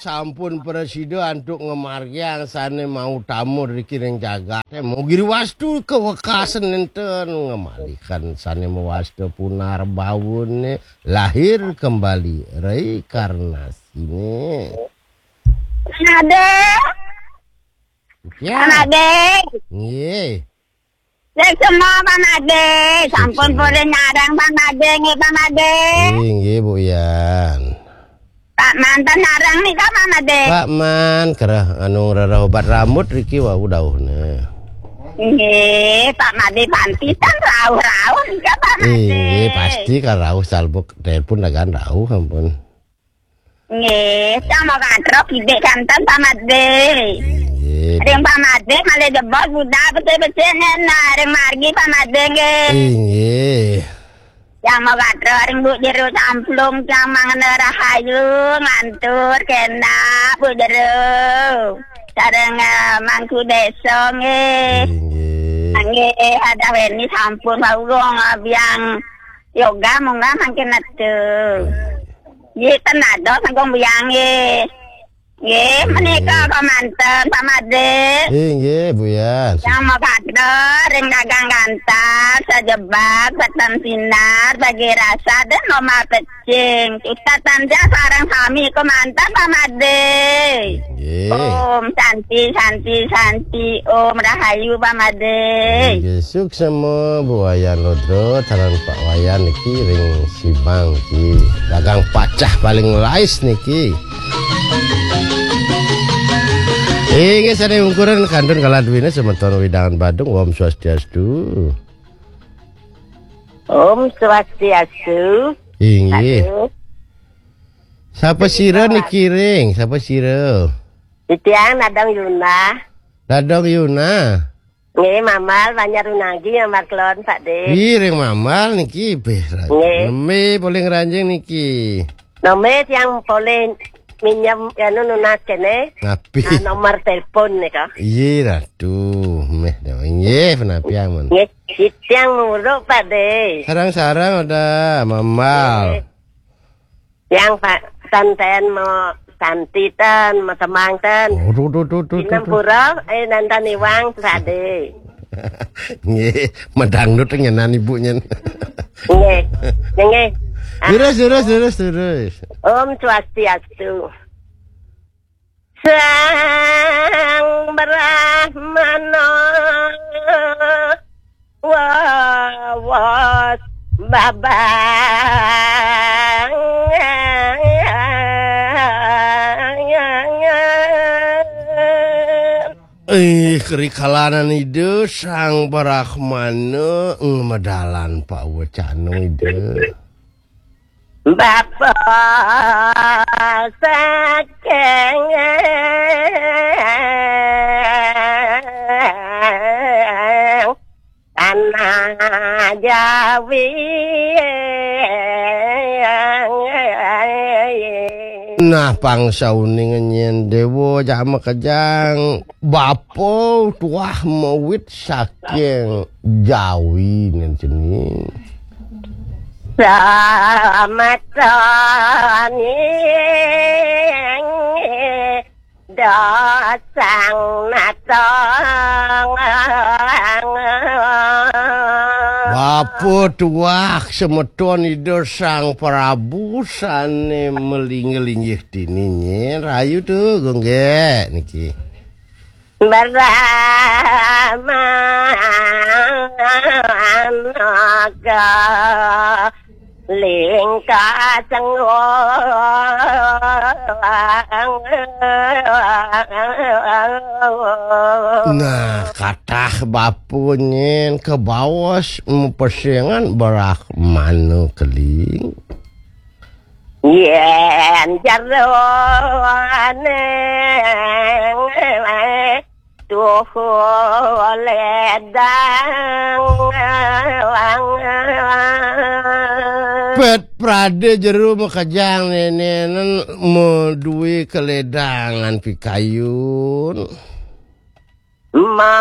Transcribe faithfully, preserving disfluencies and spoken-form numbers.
Sampun prasida antuk ngamargiang sane mautama riki ring jagate. Mugi wastu kawekasan nenten ngamalikan sane mawasta punarbhawane, lahir kembali, reinkarnasine. Ade. Ya. Ade. Nggih. Cek semua, Pak Made. Sampun purun nyareng, Pak Made, nggih, Pak Made. Inggih, Bu Yan. Pak Manten nyareng nih, Pak Made. Pak Man, kerah anu ngrereh obat rambut riki wau dauhne. Nggih, Pak Made pantitan rauh-rauh nih, Pak Made. Inggih, pasti kan rauh salbuk telepon dagan rauh, ampun. Nggih, cang mau katrok idik kanten Pak Made. Inggih. Ring Pak Made malih jebos budak becik-becik nena ring margi Pak Made nggih. Inggih. Cang mau katrok ring Bu Jero Camplung cang mangene rahayu ngantur kenak Bu Jero. Sareng eh, Mangku Desa nggih. Inggih. Nggih, ada weni sampun wau biang yoga munggah mangkin metu. Nggih, ten dados Agung Buyang nggih. Nggih, menika kemanten Pak Made. Nggih, nggih, Bu Yan. Yang mau kader, ring dagang ganteng, sejebak, peteng sinar, bagi rasa, dan normal pecing. Ustaz Tanja sareng sami kemanten Pak Made. Nggih. Om Santi, Santi, Santi, Om Rahayu Pak Made. Nggih, suksema Bu Wayan Rudra, taran Pak Wayan niki ring Sibang niki. Dagang pacah paling lais niki. Inggih, sane ungkuran kantun kala duwine semeton wewidangan Badung, Om Swastiastu. Om Swastiastu. Inggih. Aduh. Sapa sira niki ring? Sapa sira? Titiang Nadong Yuna. Nadong Yuna. Nggih, Mamal Banjar Unagi yang maklon, Pak De. Ih, ring Mamal niki, beh, nggih. Neme polih ngranjing niki. Neme tiang polih minjem, anu, nunas kene. Ngapi? Ah, nomor telepon nika. Iya, ratu. Meh, nggih, penapi amun. Nggih, tiang muruk, Pak De. Sarang-sarang ada, Mamal. Nggih. Yang Pak Santen mau Santi ten, mau Temang ten. Oh, duh, duh, duh, duh, duh, duh. Pura, eh, nantan iwang sade. Nggih, medangdut ngenan ibu nyen. Nggih. Nggih. Ah. Terus, terus, terus, terus. Om Swastiastu. Sang Brahmana wawas babang. Eh, kerikalanan Ida Sang Brahmana ngamedalan pawecana Ida. Bapa saking tanah Jawi. Nah, pangsauning nyen Dewa Jama Kejang, bapa tuah mawit saking Jawi nen seni. Samatani dasang natang. Bapa tuah semeton Ida Sang Prabu sane melinggih-linggih dini nyen. Rayu tu, Gunggek, niki. Brahmanaga lingka sengguang. Nah, katah bapa nyen kebaos mepesengan Brahmana keling. Yen jeroning tuhu ledang. Pet prade jero makejang nenenen madue keledangan pikayun. Ma